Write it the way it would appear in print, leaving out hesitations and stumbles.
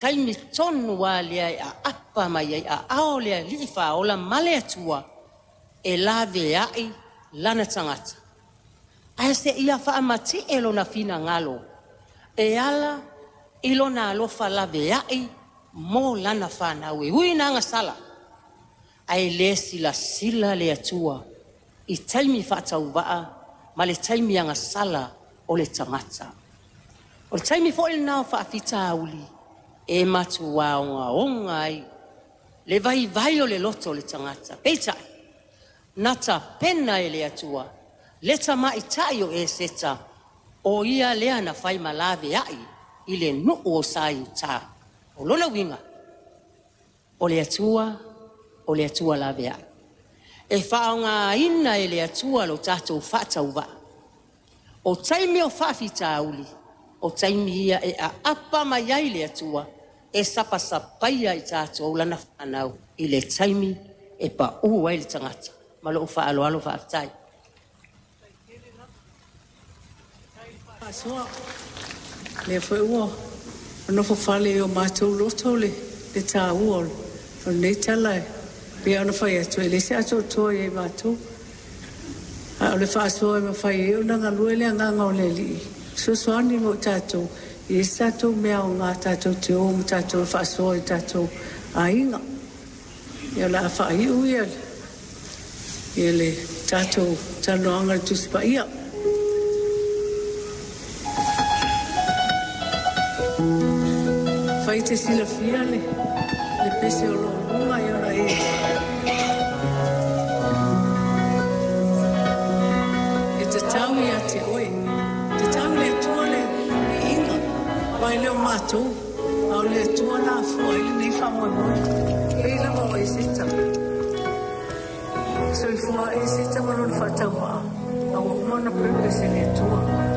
Taimi tonu lava lea e aapa mai ai aao le Alii Faaola ma le Atua e laveai lana tagata, ae seia faamatie Lona finagalo e ala i Lona alofa laveai mo lana fanau, e ui ina agasala, ae le silasila le Atua i taimi faatauvaa ma le taimi agasala o le tagata. O le taimi foi lena o faafitauli e matua ogaoga ai le vaivai o le loto o le tagata. Peitai, na tapena e le Atua le tamaitai o Eseta, o ia lea na fai ma laveai i le nuu o Saiuta. O lona uiga, o le Atua, o le Atua laveai. E faaaogaina e le Atua lo tatou faatauvaa. O taimi o faafitauli, o taimi ia e aapa mai ai le Atua e sapasapaia i tatou lana fanau i le taimi e pau ai le tagata. Ma lou faaaloalo faafetai. Faasoa. Lea foi ua nofo fale i o matou loto le taua o lenei tala, e pei ona fai atu e leai se atoatoa ia i matou, a o le faasoa e mafai ai ona galue le agaga o le Alii e fesoasoani mo i tatou. E leai se tatou mea aoga tatou te o ma tatou faasoa i tatou aiga. Ia, o le a faaiu le tatou talanoaga i le Tusi Paia. Afai e te silafia le pese o lo o luga, ia ona e E tatau ia te oe. E tatau i le Atua le viiga, aua e le o matou, a o le Atua na afua ai lenei faamoemoe. E pei lava o Eseta. Soifua Eseta ma lona faatauvaa, a ua uma ona purpose e le Atua.